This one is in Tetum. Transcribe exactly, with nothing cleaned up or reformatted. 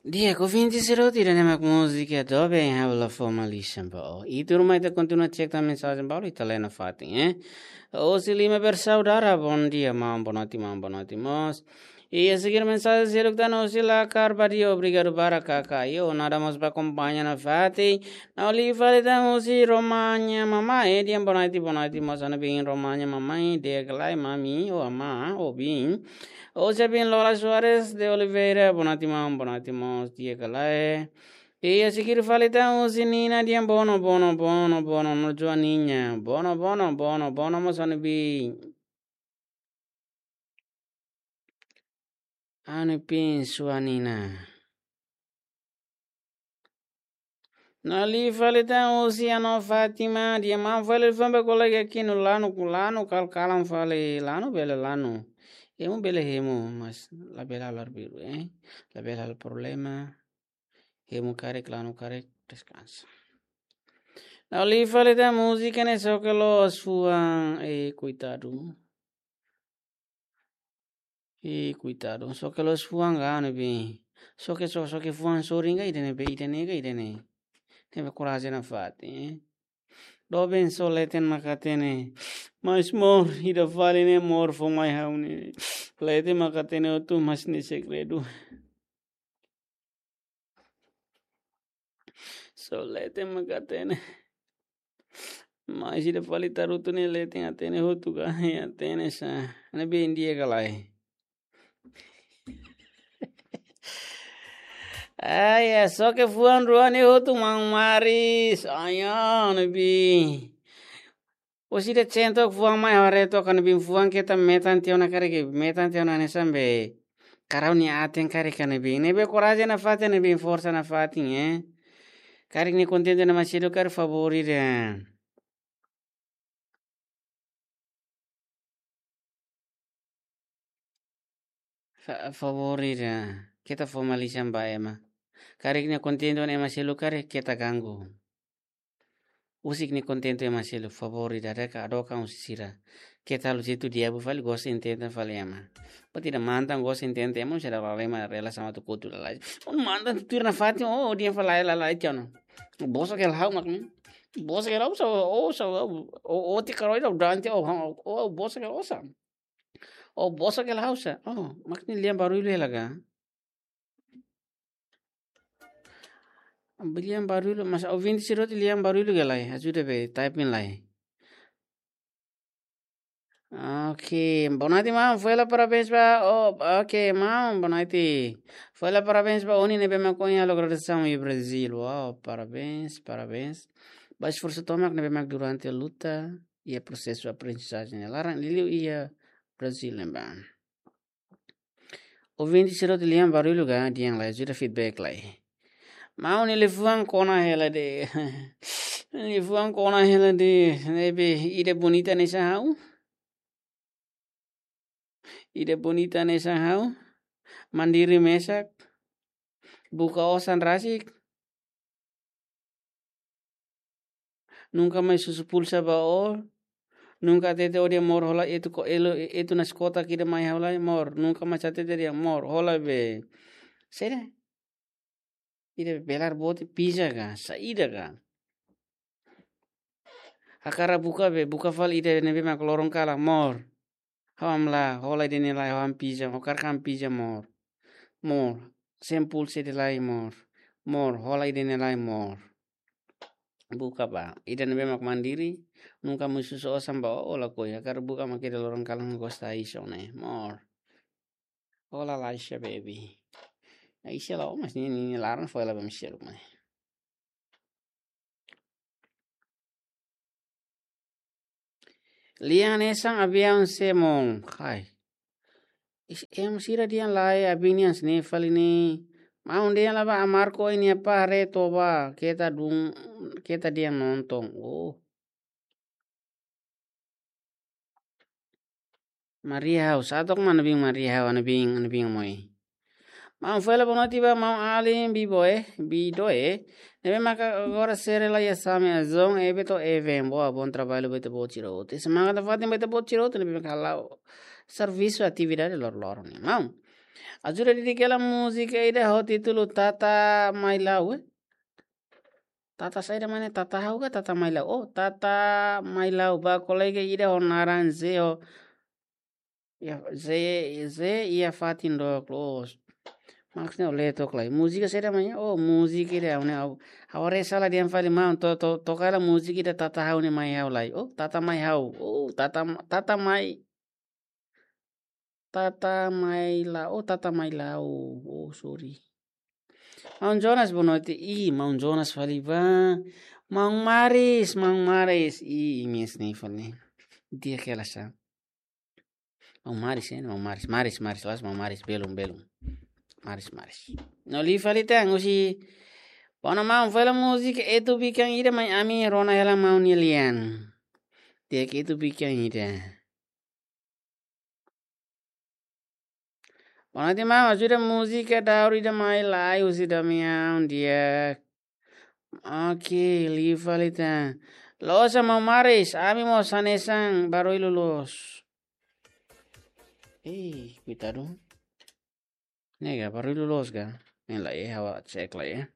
Di'ak, ouvinte sira hotu, ida-ne'e mak múzika Doben, ha'u la fó malisan ba ó. I tuirmai ita kontinua cek tan mensajen balu ita lee nafatin, eh. Husi Lima Bersaudara, bom dia, maun, boa noite, maun, boa noite, mós. I a seguir mensajen seluk tan husi Lakar Badia, obrigadu barak, kaka. Io, nada mós ba akompaña nafatin. Ha'u lee fali tan husi Romanya Mamai, eh, di'ak, boa noite, boa noite, mós, hanesan ne'e biin Romanya Mamai, di'ak ka lae, mami, ou amá, ou biin. Husi biin Lola Soares de Oliveira, boa noite, maun, boa noite, mós, di'ak ka lae. I a seguir fali tan husi Nina, di'ak, bono, bono, bono, bono, no Joaninha. Bono, bono, bono, bono, mós, hanesan ne'e biin. Hanesan ne'e biin Joaninha. Ha'u lee fali tan husi Ano Fátima, di'ak, maun, fali fó ba kolega ki'ik no lanu, lanu kal-kalan fali, lanu bele lanu. Hemu bele hemu, mas labele halo arbiru, eh. Labele halo problema. Hemu karik, lanu karik, deskansa. Ha'u lee fali tan múzika ne'e, só que loos fuan, eh, koitadu. Eh, koitadu. Só que loos fuan ka, hanesan ne'e biin. Só que, só, só que fuan sorin ka ida-ne'e be, ida-ne'e ka ida-ne'e. Ne'ebé korajen nafatin, eh. Doben, só leten mak hatene. Mas mós, ida fali ne'e mós fó mai ha'u ne'e. Leten mak hatene hotu, mas ne'e segredu. Só leten mak hatene. Mas ida fali tarutu ne'e leten hatene hotu ka, hatene sá. Hanesan ne'e biin, di'ak ka lae. Ai, é só que fuan rua ne'e hotu maun Maris. Ai, hanesan ne'e biin. Ó sira sente fuan mai haree took, hanesan ne'e biin, fuan keta metan tiha ona karik, metan tiha ona hanesan be karau nia aten karik, hanesan ne'e biin. Ne'ebé korajen nafatin, hanesan ne'e biin, forsa nafatin, eh. Karik nia kontente ona ema seluk karik, favór ida. Fa-, favór ida. Keta fó malisan ba ema. Karik nia kontente ona ema seluk karik, keta ganggu. Husik nia kontente ema seluk, favór ida, hadook, hadook husi sira. Keta halo jeitu diabu fali, gosta intenta fali ema. Buat ida mantan gosta intenta ema, sira laleman rela sama tu kotu lalais. Ó mantan tuir nafatin, ó, ó dehan fali lalais tiha ona. Bosa ke lau mak ni. Bosa ke lau sa, ó, sa, ó, ó, ó ti karoi lau dante, ó, ó, ó, bosa ke lau sa. Ó, bosa ke lau sa. Ó, mak ne'e lian barullu hela ka. Lian barullu, mas ouvinte sira hotu lian barullu ka lae, ajuda be, typing lai. Ok, boa noite, maun. Fó hela parabéns ba, oh, ok, maun, boa noite. Fó hela parabéns ba Oni ne'ebé mak ohin halo graduasaun iha Brazil. Wow, parabéns, parabéns. Ba esforsu tomak ne'ebé mak durante luta iha prosesu aprendizajen laran liuliu iha Brazil ne'ebá. Ouvinte sira hotu lian barullu ka, dehan lai, ajuda feedback lai. Maun, nia liafuan kona hela de'it. Liafuan kona hela de'it, ne'ebé ida bonita hanesan ha'u. Ida bonita hanesan ha'u. Mandiri mesak. Buka osan rasik. Nunka mai husu pulsa ba ó. Nunka hatete ó dehan mós hola etu ko elo, etu nas kota kida mai hola mós. Nunka mai hatete dehan mós hola be. Saida? Ida belar bote pizza ka, saida ka. Hakarak buka be, buka fali ida ne'ebé mak loron kalan mós. Ha'u hamlaha, hola ida-ne'e lai, ha'u han pizza, ha'u hakarak han pizza mós. Mós, sem pulsa ida lai mós. Mós, hola ida-ne'e lai mós. Buka ba, ida ne'ebé mak mandiri, nunka mai husu osan ba ó, ó lakohi, hakarak buka mak ida loron kalan gosta iso ne'e, mós. Hola Laisha baby. Laisha la, mas nia, nia, nia laran fó hela ba ema seluk mai. Lian hanesan aviaun semo, hai. Is, ema sira dehan lai, aviaun nian hanesan ne'e fali ne'e. Maun dehan la ba Amarko ini apa re toba, keta dun, keta dehan nonton. Oh. Maria House, atok mana bing Maria House, ana bing, ana bing moi. Maun fó hela boa noite ba maun alin, bibo eh, bido eh. Ne'ebé maka agora sere la iha Same Azon, eh, Beto Even, boa, bom trabalho, Beto Botiro. Te semana da fatin Beto Botiro, te ne'ebé maka lau servisu atividade lor-loron ne'e. Maun, Ajuda dedika hela múzika ida ho títulu Tata Mai La'o, eh? Tata saida mak ne'e, Tata Ha'u ka Tata Mai La'o? Oh, Tata Mai La'o. Ba kolega ida ho naran Zé ho, iha, Zé, Zé iha fatin dook loos. Maksudnya oleh tok lai. Múzika saida mak ne'e? Oh, múzika ida ha'u ne'e ha'u, ha'u haree sala dehan fali maun, to, to, toka hela múzika ida Tata Ha'u ne'e mai ha'u lai. Oh, Tata Mai Ha'u. Oh, Tata, Tata Mai, Tata Mai La'o, oh, Tata Mai La'o. Oh, sorry. Maun Jonas, boa noite. Ih, Maun Jonas fali ba. Maun Maris, Maun Maris. Ih, imi hanesan ne'e fali. Di'ak hela sa. Maun Maris, eh, Maun Maris. Maris, Maris, la'ós Maun Maris, belum, belum. Maris, Maris. No liu fali tan, husi. Bona maun, fó hela múzika Etu Bikan Ida mai ami rona hela maun nia lian. Di'ak, Etu Bikan Ida. Bona maun, ajuda múzika daur ida mai lai husi Damião, di'ak. Oke, liu fali tan. Loos maun Maris, ami mós hanesan barullu loos. Eh, koitadu. Ne'e ka, barullu loos ka? Ne'e lai, eh, ha'u cek lai, eh.